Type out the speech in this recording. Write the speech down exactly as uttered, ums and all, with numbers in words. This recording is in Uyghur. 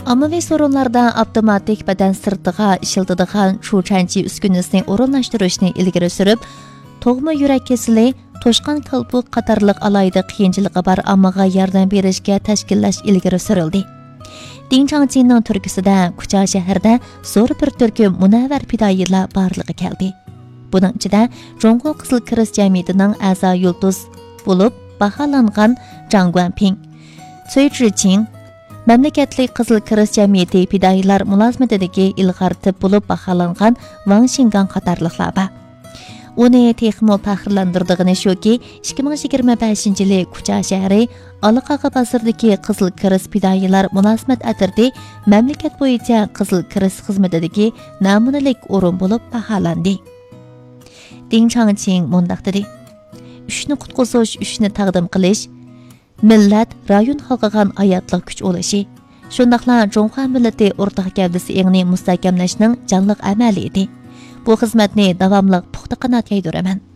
ئاممىۋى سورۇنلاردا ئاپتوماتىك بەدەن سىرتىغا ئىشلىتىدىغان چۇچەنچى ئۈسكۈنىسىنى ئورۇنلاشتۇرۇشنى ئىلگىرى سۈرۈپ، تۇغما يۈرەك كېسىلى، توشقان كالپۇك قاتارلىق ئالاھىدە قىيىنچىلىقى بار ئاممىغا ياردەم بېرىشكە تەشكىللەش ئىلگىرى سۈرۈلدى. دىڭ چاڭچىنىڭ تۈرتكىسىدە كۇچا شەھىرىدە زور بىر تۈركۈم مۇنەۋۋەر پىدائىيلار بارلىققا كەلدى. بۇنىڭ ئىچىدە جۇڭگو قىزىل كىرېست جەمئىيىتىنىڭ ئەزا يۇلتۇز بولۇپ باھالانغان جاڭ گۇەنپىڭ، سۈي جىچىڭ، مەملىكەتلىك قىزىل كىرېست جەمئىيىتى پىدائىيلار مۇلازىمىتىدىكى ئىلغار تىپ بولۇپ باھالانغان ۋاڭ شىنگاڭ قاتارلىقلار بار. ئۇنى تېخىمۇ پەخىرلەندۈرىدىغىنى شۇكى، ئىككى مىڭ يىگىرمە بەشىنچى يىلى كۇچا شەھىرى ئالاقاغا بازىرىدىكى قىزىل كىرېست پىدائىيلار مۇلازىمەت ئەترىتى مەملىكەت بويىچە قىزىل كىرېست خىزمىتىدىكى نەمۇنىلىك ئورۇن بولۇپ باھالاندى. دىڭ چاڭچىڭ مۇنداق دېدى: «ئۈچنى قۇتقۇزۇش، ئۈچنى تەقدىم قىلىش، مىللەت، رايون قالغىغان ھاياتلىق كۈچ ئۇلىشى، شۇنداقلا جۇڭخۇا مىللىتى ئورتاق گەۋدىسى ئېڭىنى مۇستەھكەملەشنىڭ جانلىق ئەمەلىيىتى. بۇ خىزمەتنى داۋاملىق پۇختا قانات يايدۇرىمەن.»